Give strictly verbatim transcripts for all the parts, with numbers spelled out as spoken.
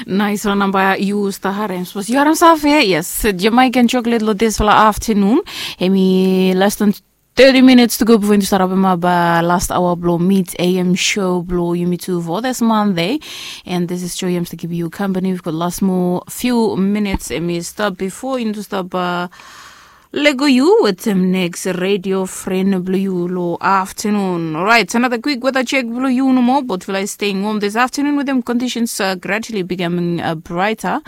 Naisfala namba yu stap harem, sapos yu harem save, yes, Jamaican Chocolate long disfala aftanun. Hemi less than thirty minutes to go before yumi start apem up last hour blong mid A M show blong yumi tu for this Monday. And this is Joy Yams to give you company. We've got last more few minutes, hemi stap before yumi stap lego yu wetem next radio friend blong yu long aftanun. Orait, another quick weather check blong yu nomo. Botfala is staying warm this afternoon with them conditions uh, gradually becoming uh, brighter.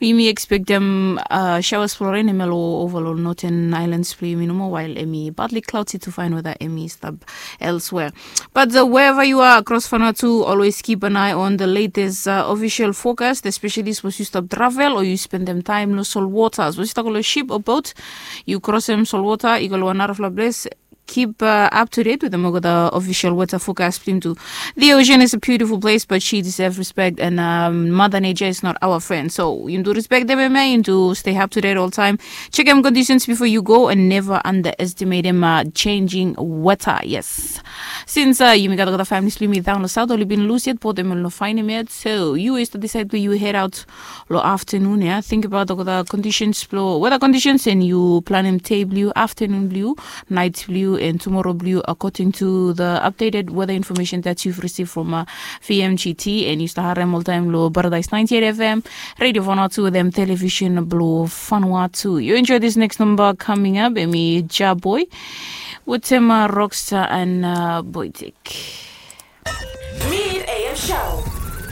Yumi expect them uh, showers for rain hemi long over long northern islands blong yumi nomo, while hemi partly cloudy to fine weather hemi stap elsewhere. But uh, wherever you are across Vanuatu, always keep an eye on the latest uh, official forecast, especially suppose you stop travel or you spend them time no salt water. Suppose you talk about ship or boat, you cross them salt water, you go to another place. Keep uh, up to date with them over the official weather forecast blong yumi tu. The ocean is a beautiful place, but she deserves respect, and um, Mother Nature is not our friend. So you do respect them, man. You do stay up to date all time. Check them conditions before you go, and never underestimate them uh, changing weather. Yes. Since uh, yumi gat olgeta families blong yumi down lo south, oli bin lus yet, but dem oli no find him yet. So yu is decide blong yu head out lo aftanun ia. Think about olgeta conditions blong weather conditions, and yu planem day blong yu, aftanun blong yu, night blong yu, and tomorrow blong yu, according to the updated weather information that you've received from uh, V M G T, and yu stap harem oltaem lo Paradise ninety-eight F M, Radio Vanuatu wetem television blong Vanuatu. You enjoy this next number coming up, hemi Jah Boy wetem uh, Rockstar and uh, Boytik. Mid A M Show.